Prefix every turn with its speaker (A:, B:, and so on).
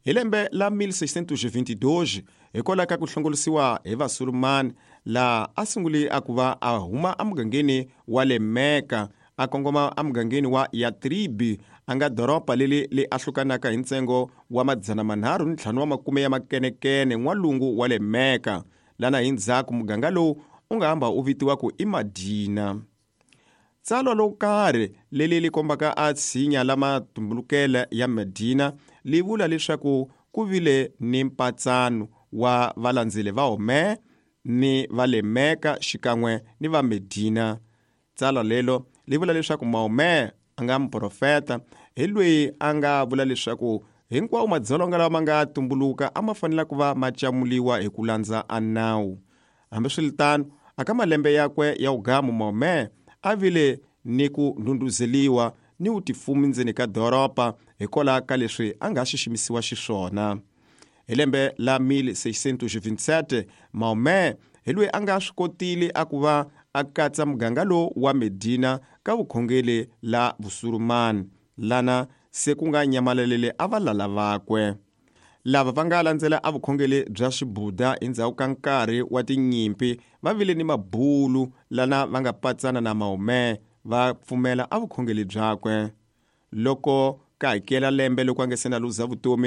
A: Hi lembe la 1622, hikwalaho ka ku hlongorisiwa hi Vasurumani, laha a sungule a ku va a huma emugangeni wa le Mecca a kongoma emugangeni wa Yatribi, a nga doroba leri li ahlukanaka hi ntsengo wa 350 wa makume ya makenekene n'walungu wa le Mecca, lana hi ndzhaku muganga lowu u nga hamba u vitiwa ku i Madina. Tsalwa lo karhi leri li kombaka a tshinya la matumbulukele ya Medina li vula leswaku ku vile ni mpatsano wa valandzeli va Homer ni va le Mecca xikan'we ni va Medina. Tsalwa lelo li vula leswaku Mahomet a nga muprofeta hi loyi a nga vula leswaku hinkwawo madzolonga lawa ma nga tumbuluka a ma fanele ku va ma camuliwa hi ku landza a nawu. Hambiswiritano, aka malembe yakwe ya wugamu Mahomet a vile ni ku ndhundhuzeliwa ni wutifumi ndzeni ka doroba hikwalaho ka leswi a nga xiximisiwa xiswona. Hi lembe la 1627, Mahomet hi loyi a nga swi kotile a ku va a katsa muganga lowu wa Medina ka vukhongeli la Vusurumani, lana se ku nga nyamalalele a valala vakwe. Lava va nga landzela a vukhongeli bya Xibudha endzhaku ka nkarhi wa tinyimpi va vile ni mabulu lana va nga patsana na Mahomet va pfumela a vukhongeli byakwe. Loko ka hakela lembe loko a nga se na luza vutomi.